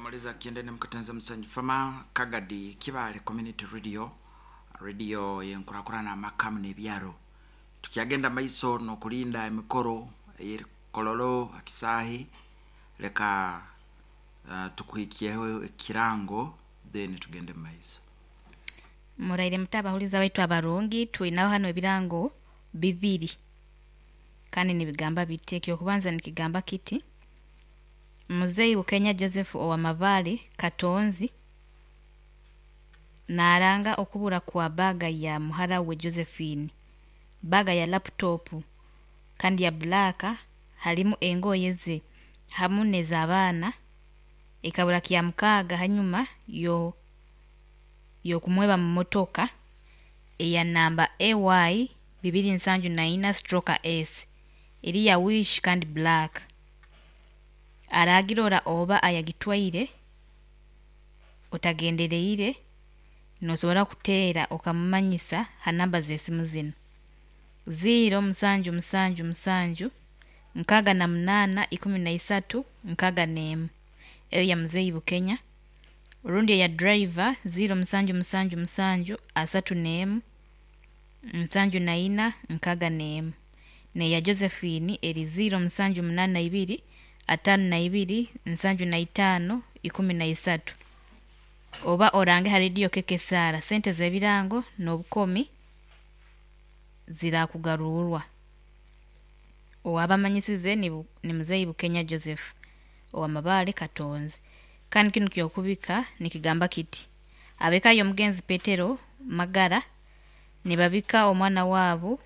Muliza Kyendene Mukatenza Musanyi Fama Kagadi Kibale Community Radio, radio yenkurakurana amakamu n'ebyaro. Tukyagenda maiso n'okulinda emikoro ey'erikololo akisahi leka tukuhikyeho ekirango then tugende mu maiso. Muraire muta abahuliza baitu abarungi, twinaho hanu ebirango bibiri kandi nibigamba biti. Ekyokubanza nikigamba kiti: Muzei Bukenya Joseph owa Mabale Katonzi naranga okubura kwa baga ya muhara we Josephine, baga ya laptop kandi ya black, halimu engoye ze hamu n'ez'abaana, ekabura kya mukaaga hanyuma yo y'okumweba mu motoka eya namba AY 274 stroke S eri ya wish kandi black. Aragirora oba ayagitwaire otagendereire nosobora kuteera okamumanyisa ha namba z'esimu zinu: 0 musanju musanju musanju 68 13 61, eyo ya Muzei Bukenya, rundi eya driver 0 musanju musanju musanju 31 74 61, n'eya Josephine eri 0 musanju 82 52 75 13. Oba orange ha rediyo Kekesara, sente z'ebirango n'obukomi zirakugarurwa. Owabamanyisize ni, ni Muzei Bukenya Joseph owa Mabale Katonzi. Kandi kinu kyokubika nikigamba kiti: ab'eka y'omugenzi Petero Magara nibabika omwana waabo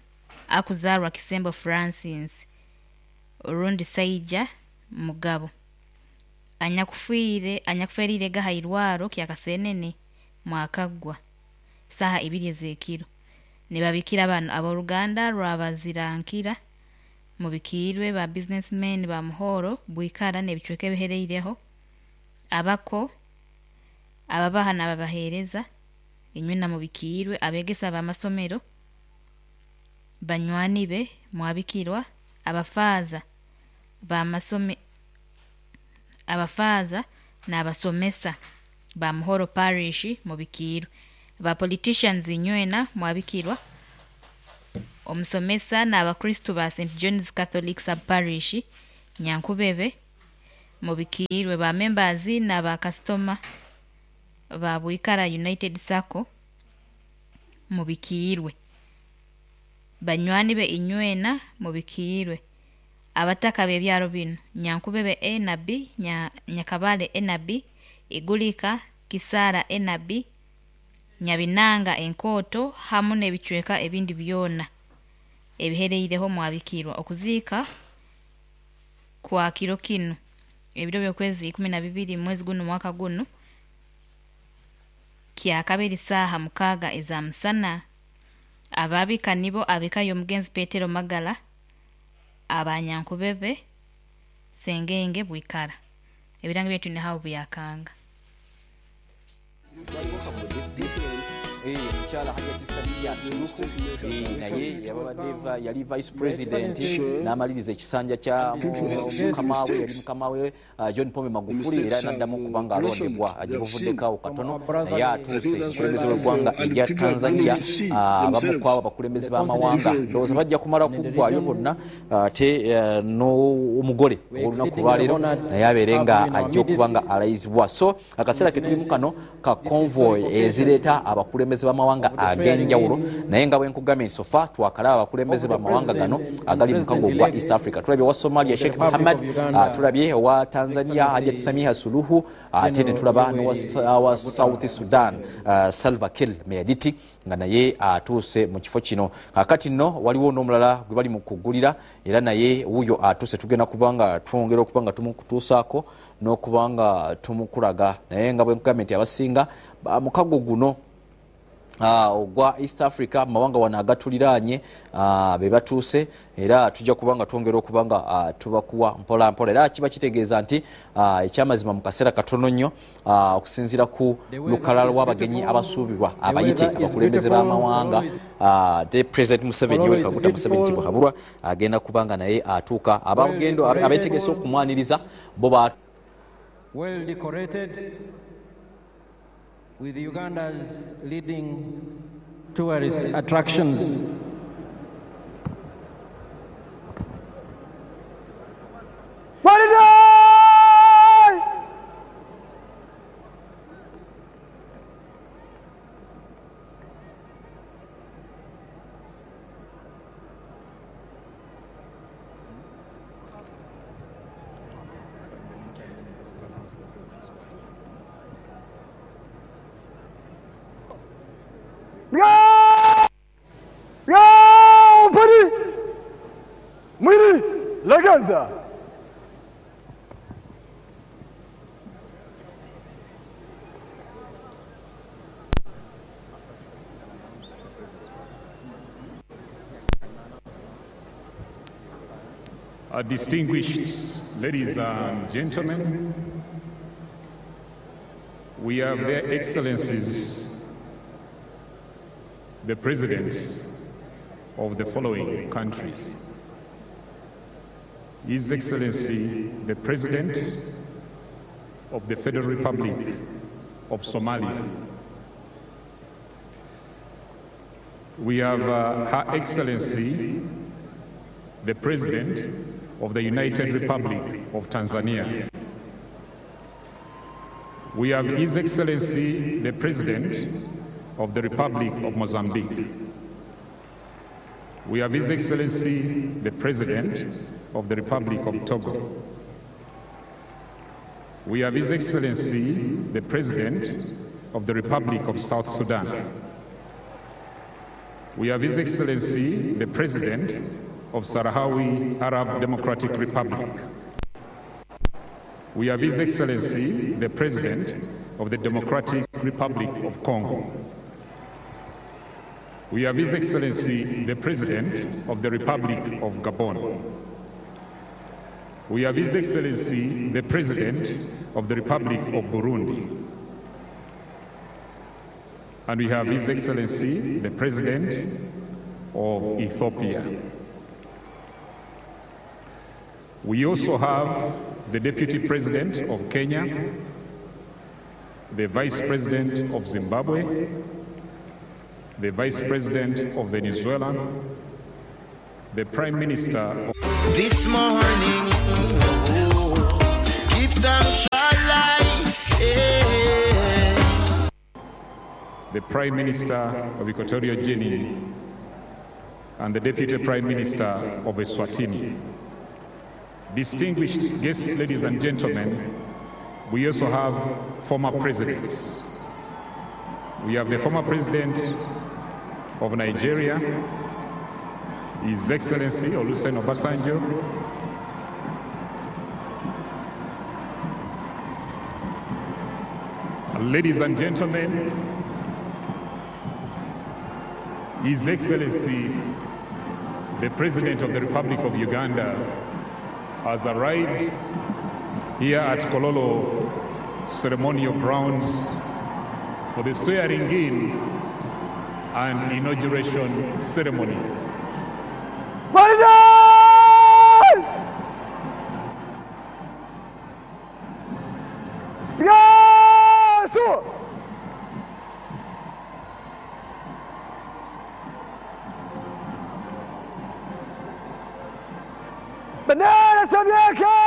akuzarwa Kisembo Francis rundi Saija Mugabo anyakufiire anyakuferiirege ha irwaro kya Kasenene mwakaggwa saaha ibiri ez'ekiro. Nibabikira banu ab'oruganda rw'abazirankira mubikiirwe ba businessmen ba Muhoro Bwikara n'ebicweka ebihereireho, abako, ababaha n'ababaheereza, inywena mubikiirwe, abeegesa b'amasomero, banywani be mwabikirwa, abafaaza b'amasome abafaaza n'abasomesa ba Muhoro Parish mubikiirwe, ba politicians inywena mwabikirwa, omusomesa n'abakristu ba St John's Catholic Sub Parish Nyankubebe mubikiirwe, ba members n'aba kasitoma ba Bwikara United Sacco mubikiirwe, banywani be inywena mubikiirwe, abataka b'ebyaro binu Nyankubebe A na B, Nyakabale A na B, Igulika, Kisaara A na B, Nyabinanga Enkooto hamu n'ebicweka ebindi byona ebihereireho mwabikirwa. Okuziika kwa kiro kinu ebiro by'okwezi 12 mwezi gunu mwaka gunu kyakabiri saaha 6 eza musana. Ababika nibo ab'eka y'omugenzi Petero Magara abanyankubebe Sengenge Bwikara. Ebirango byaitu nihaho byakanga. Omukyala Hajati Samia Suluhu naye yabadde yali Vice President n'amaliriza ekisanja kya mukama we, yali mukama we John Pombe Magufuli, era n'addamu okuba nga alondebwa gye buvuddeko awo katono, naye atuuse omukulembeze w'eggwanga erya Tanzania. Abamu ku abo abakulembeze b'amawanga ndowooza bajja kumala kuggwayo bonna, ate n'omugole ow'olunaku olwaleero naye abeere nga ajja okuba nga alayizibwa. So akaseera ke tulimu kano ka convoy ezireeta abakulembeze b'amawanga ag'enjawulo, naye nga bwe nkugambye sofa twakalaba abakulembeze b'amawanga gano agali mu mukago ogwa East Africa. Tulabye owa Somalia Sheikh Muhammad, tulabye owa Tanzania Hajat Samiha Suluhu, ate ne tulaba n'owa South Sudan Salva Kiir Mayardit nga naye atuuse mu kifo kino. Kaakati nno waliwo n'omulala gwe bali mu kuggulira era naye wuuyo atuuse, tugenda kuba nga twongera okuba nga tumukutuusaako n'okuba nga tumukulaga. Naye nga bwe nkugambye nti abasinga mukago guno ogwa East Africa, mawanga wano agatuliraanye, be batuuse, era tujja kuba nga twongera okuba nga tubakuwa mpola mpola. Era kiba kitegeeza nti ekyamazima mu kaseera katono nnyo, okusinziira ku lukalala lw'abagenyi abasuubirwa abayite abakulembeze b'amawanga, the President Museveni, Yoweri Kaguta Museveni Tibuhaburwa, agenda kuba nga naye atuuka. Abagendo abeetegese okumwaniriza bo ba well decorated with Uganda's leading tourist attractions. Mwili legeza. Distinguished ladies and gentlemen, we have their excellencies, the presidents of the following countries. His Excellency, the President of the Federal Republic of Somalia. We have Her Excellency, the President of the United Republic of Tanzania. We have His Excellency, the President of the Republic of Mozambique. We have His Excellency, the President of the Republic of Togo. We have His Excellency, the President of the Republic of South Sudan. We have His Excellency, the President of Sahrawi Arab Democratic Republic. We have His Excellency, the President of the Democratic Republic of Congo. We have His Excellency, the President of the Republic of Gabon. We have His Excellency, the President of the Republic of Burundi. And we have His Excellency, the President of Ethiopia. We also have the Deputy President of Kenya, the Vice President of Zimbabwe, the Vice President of Venezuela, the Prime Minister of This morning, oh, give thanks for life. Yeah. the Prime Minister of Equatorial Guinea, and the Deputy Prime Minister of Eswatini. Distinguished guests, ladies and gentlemen, we also have former presidents. We have the former president of Nigeria, His Excellency Olusegun Obasanjo. Ladies and gentlemen, His Excellency, the President of the Republic of Uganda, has arrived here at Kololo Ceremonial Grounds for the swearing in and inauguration ceremonies. Gwaride! Yesu! Bendera Samyaka!